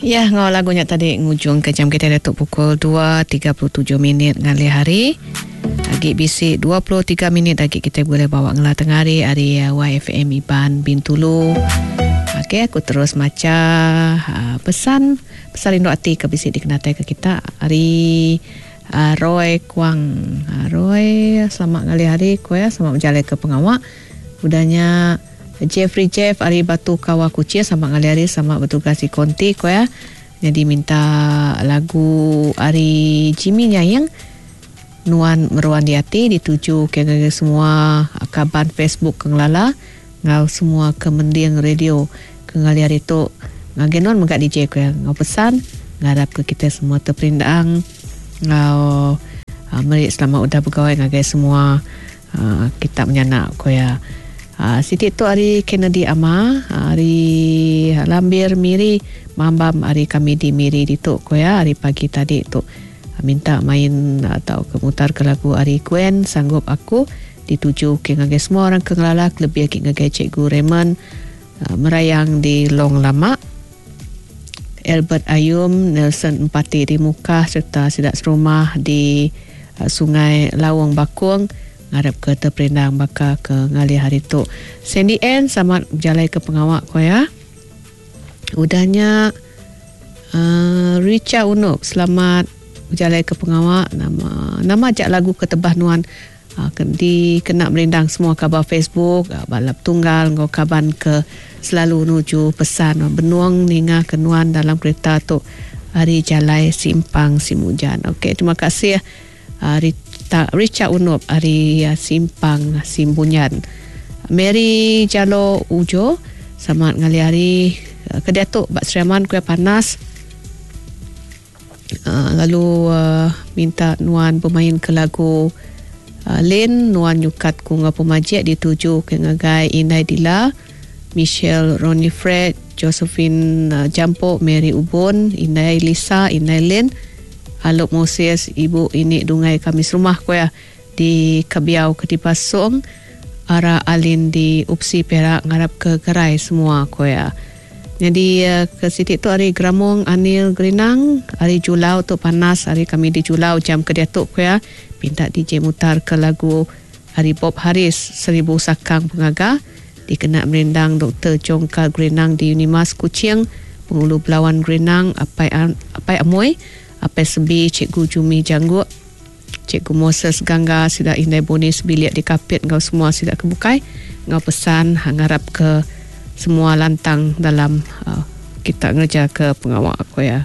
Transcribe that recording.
Ya enggau lagu nya tadi ngujung ke jam kitai diatu pukul 2.37 minit ngalih hari. Agi bisi 23 minit agi kitai boleh bawa ngela tengah hari ari YFM Iban Bintulu. Okey aku terus macha uh, pesan pesan rindu ati ke bisi dikenatai ke kita ari uh, Roy Kuang. Uh, Roy selamat ngalih hari ku ya selamat berjalai ke pengawa. Udahnya Jeffrey Jeff ari Batu Kawa Kuching sama ngalih hari sama betugas di Konti ko ya. Nyadi minta lagu ari Jimmy Nyaing Nuan Meruan Di Ati dituju ke ngagai semua kaban Facebook ke ngelala enggau semua ke mending radio ke ngalih hari tu ngagai nuan mega DJ ko ya enggau pesan ngarap ke kita semua terperindang enggau meri selamat udah begawai ngagai semua Kita menyanak, ku iya. Siti tu ari Kennedy Ama, ari Lambir Miri, Mambam ari kami di Miri ditu, ku iya ari pagi tadi tu. Minta main tauka mutarka lagu ari Gwen Sanggup Aku dituju ke ngagai semua orang ke ngelala kelebih agi ngagai Cikgu Raymond Merayang di Long Lama, Albert Ayum, Nelson Empati di Mukah sereta sida serumah di Sungai Laung Bakong ngarapka teperindang baka ke ngalih hari tu. Sandy Ann sama bejalaika pengawa ku iya. Udah nya uh, Richa Unup selamat bejalaika pengawa nama nama aja lagu ke tebah nuan Di kena merindang semua kaban Facebook, bala petunggal enggau kaban ke selalu nuju pesan benung ninga ke nuan dalam kereta tu ari jalai Simpang Simujan. Ok terima kasih Rita Richard Unup ari Simpang Simbunyan. Mary Jalo Ujo selamat ngalih hari ke diatu ba Sri Aman kuih panas. Lalu minta nuan bemain ke lagu Lin nuan nyukat ku enggau pemajik dituju ke ngagai Indai Dila, Michelle Ronnie Fred, Josephine Jampok, Mary Ubon, Indai Lisa, Indai Lin, Alop Moses, Ibu Ini Dungai kami serumah ku iya di Kebiau Ketipasong, Ara Alin di Upsi Perak ngarap ke gerai semua ku iya. Nyadi ke siti tu ari Gramong Anil Gerinang ari Julau tu panas ari kami di Julau jam ke diatu ku iya pinta DJ mutar ke lagu ari Bob Harris Seribu Sakang Pengaga dikena merindang Doktor Jongka Gerinang di Unimas Kuching Pengulu Belawan Gerinang Apai Apai Amoi Apai Sebi Cikgu Jumi Jangguk Cikgu Moses Gangga sida indai Boni sebilik di Kapit enggau semua sida ke bukai enggau pesan ngarap ke semua lantang dalam kita ngereja ke pengawa ku iya.